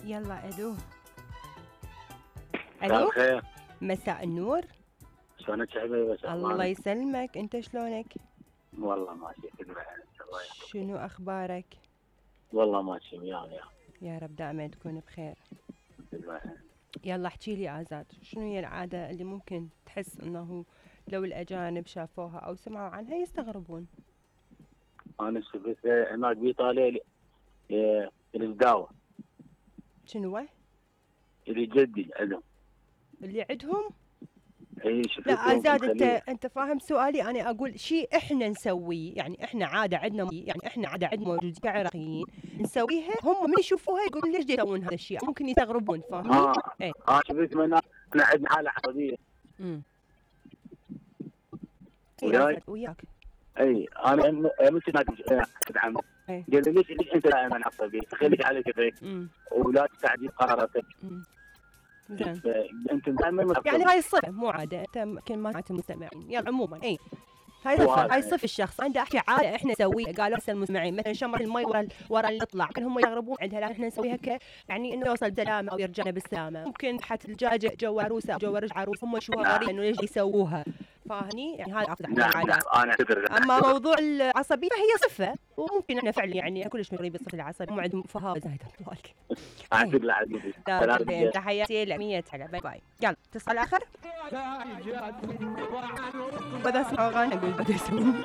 يلا الو. مساء الو الخير. مساء النور. شلونك يا حبيبي؟ الله يسلمك، انت شلونك؟ والله ماشي الله شنو اخبارك؟ والله ماشي ويانا يا رب دائما تكون بخير. الله. يلا احكي لي آزاد، شنو هي العادة اللي ممكن تحس انه لو الاجانب شافوها او سمعوا عنها يستغربون؟ انا شفت هناك بايطاليا الزداوه شنو اللي جدي عندهم. اللي عندهم؟ اي لا شفتهم آزاد، مخلية. انت فاهم سؤالي؟ انا اقول شيء احنا نسويه، يعني احنا عاده عندنا، يعني احنا عاده عندنا موجودين كعراقيين نسويها، هم من يشوفوها يقولون ليش يسوون هذا الشيء، ممكن يستغربون، فاهمني؟ اي شفت من هناك. احنا عندنا حاله عصبيه اي وياي. آزاد وياك. اي انا مش هناك ادعم. اي قال لي ليش انت دائما عصبي؟ خليك على كيفك ولا تستعجل قراراتك. زين. انت دائما يعني هاي الصفة مو عادة، انت يمكن ما سمعت المستمعين، يلا عموما اي هاي صفة، هاي صفة الشخص عنده احكي عادة احنا نسويها. قالوا هسه المستمعين مثلا شمر المي ورا اللي يطلع، كل هم يغربون عندها، لكن احنا نسويها يعني انه يوصل بسلامة او يرجعنا بالسلامة. ممكن حتى الدجاجة جو عروسة او جو ورج عروس هم يشوفوها غريبة انه ليش يسووها، فاهمني؟ يعني هذا اقصد العادات. انا اعتذر. اما موضوع العصبية فهي صفة، وممكن احنا فعلا يعني كلش مغربين بالصفة العصبية، هم عندهم فهاوة زايدة طوالك. اعتذر عزيزي. لا تحياتي لك 100 هلا، باي باي. يلا اتصال اخر. بدأ اسمع اغاني اقول بدأ يسوون